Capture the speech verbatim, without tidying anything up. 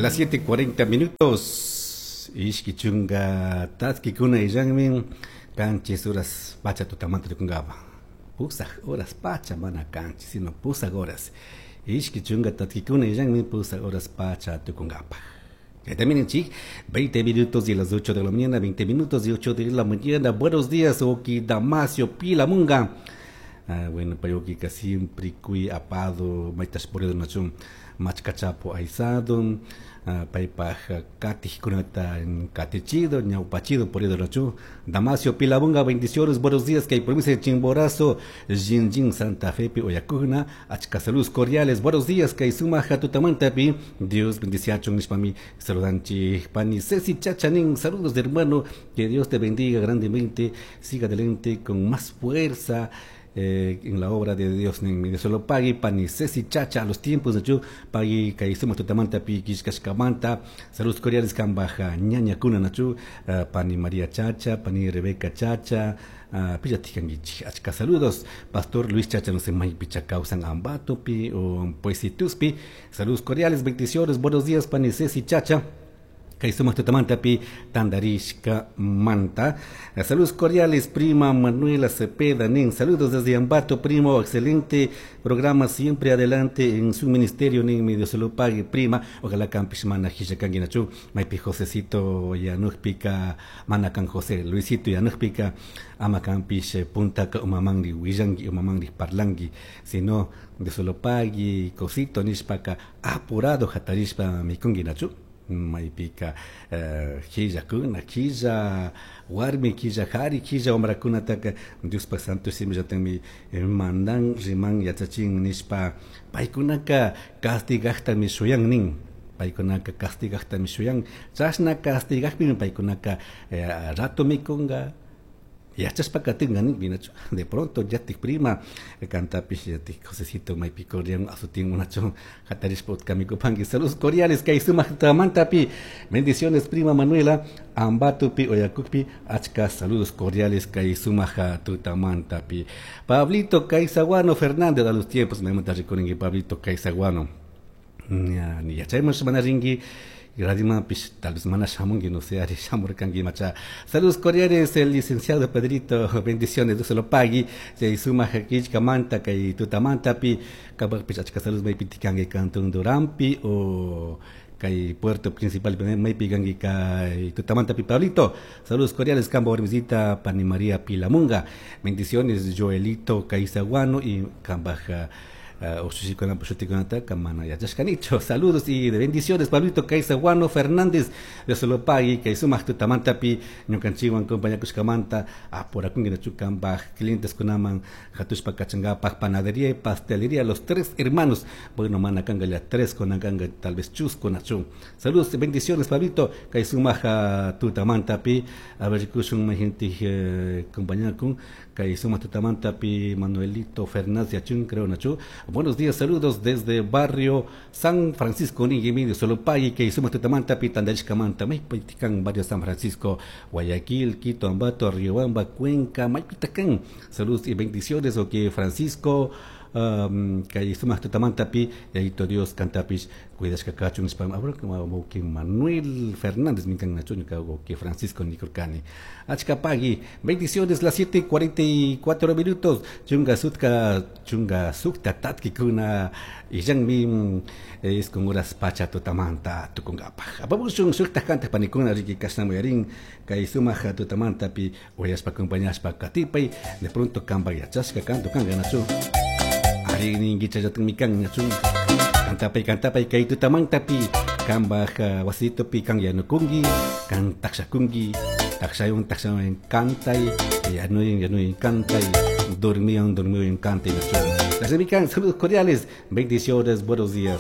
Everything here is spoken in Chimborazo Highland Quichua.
Las siete cuarenta minutos. Ishki chunga tatkikuna illanmi kanchis horas pacha tutamanta rikungapa. Pusaj horas pacha mana kanchis, sino pusaj horas. Ishki chunga tatkikuna illanmi pusaj horas pacha tukungapa. También en veinte minutos y las ocho de la mañana, veinte minutos y ocho de la mañana. Buenos días, Oki Damasio Pilamunga. Ah, bueno, payokika siempre kui apado, maitas por el nachum, machcachapo aizado, paypaj katijkunata katichido, ñaupachido por el nachum. Damasio Pilabunga, bendiciones, buenos días, que hay provincia de Chimborazo, Jinjin, Santa Fe, Oyacuna, achka saludos cordiales, buenos días, que hay suma jatutamantapi, Dios bendiciachon, nishpami, saludanchi, pani, Ceci Chachanin, saludos de hermano, que Dios te bendiga grandemente, siga adelante con más fuerza. Eh, en la obra de Dios, ni Dios lo pague, pani Ceci Chacha, a los tiempos de yo, pague, kaisumo tutamanta, pi, kishkashkamanta, saludos cordiales, kambaja, ñaña kuna nachu, uh, pani María Chacha, pani Rebeca Chacha, uh, pillatikangichi, achka saludos, Pastor Luis Chacha, no sé, may picha causan ambato, pi, o poesituspi, saludos cordiales, bendiciones, buenos días, pani Ceci Chacha. Kaisumaq tutamantapi tandarishka manta. Saludos cordiales, prima Manuela Cepeda Nin. Saludos desde Ambato, primo. Excelente programa, siempre adelante en su ministerio, nin, mi Dios se lo pague, prima. Ojalá campish mana hishakanginachu. Maipi Josecito yanujpika, manakan José Luisito yanujpika, ama campish puntaka umamangri willangi, umamangri parlangi. Si no, Dios se lo pague, cosito nishpaka, apurado hatarishpa mikunginachu. Maypika killakuna, killa warmi, killa hari, killa wamrakunataka Diospa santo simillatami mandan riman yachachin nishpa paykunaka castigajtami shuyan nin. Paykunaka castigajtami shuyan. Chashna castigajpimi paykunaka rato mikunga. Yachaspa katinga nin binachu. De pronto yatik prima cantapish yatik Josecito maypi corrian azutin unacho hatarishpa utkamikupanki. Saludos cordiales kay sumaq tamantapi. Bendiciones prima Manuela Ambatupi Oyakukpi achka saludos cordiales kay sumaq tutamantapi. Pablito Caizaguano Fernández a los tiempos me manta rikurinki Pablito Caizaguano. Ni yachayman mana rinki. Pish, tal vez mana shamungi, no sé, ari shamurkangi macha. Saludos cordiales, el licenciado Pedrito, bendiciones, Dios se lo pague. Se suma hakichka manta, kay tutamantapi, kabakpish achka saludos maypitikangi cantón Durampi o kay puerto principal maypikangi kay tutamantapi Pablito. Saludos cordiales, Cambo Ormisita, Pani María Pilamunga. Bendiciones, Joelito Caizaguano y Cambaja. Saludos y de bendiciones, Pablito Caizaguano Fernández, de Solopagui, Kaisumaq tutamantapi, ñukanchikwan compañakushkamanta, aporakunki clientes kunaman, hatushpa kachangapaj, panadería y pastelería, los tres hermanos, bueno, manakanga ya tres konakanga, tal vez chusco nachu. Saludos y bendiciones, Pablito Kaisumaq tutamantapi, a ver, kushun gente compañakun, Kaisumaq tutamantapi, Manuelito Fernández Yachun, creo nachu. Buenos días, saludos desde barrio San Francisco, Niguimidi, Solopagui, que hicimos Tutamanta, Pitandashkamanta, Maypitican, barrio San Francisco, Guayaquil, Quito, Ambato, Riobamba, Cuenca, Maypitacán. Saludos y bendiciones, ok, Francisco, um, que hicimos Tutamanta, pi, y Dios, Cantapish, cuidashkakachun, spam, abro, como que Manuel Fernández, minkan nachuño, que Francisco Nicolcani. Achkapagui, bendiciones, las siete cuarenta y cuatro minutos, chunga sutka, chunga sukta tatkikuna, y yang es con horas pacha tutamanta tukungapaj. Apabushun sukta kanta panikuna, riki kasnamuyarin, kaisumaja tutamanta pi, oyaspa acompañaspa katipay, de pronto kamba yachashka kanto kanga nachu. Ari ningichayatin mikan nachu. Cantapay, cantapay, kay tutamantapi, kambaj wasito pi kan yanukungi, kan takshakungi, takshayon, takshayon, kantay, yanuyin, yanuyin, kantay, dormiyon, dormiyon, kantay, nachu. Las mikan, saludos cordiales, bendiciones, buenos días.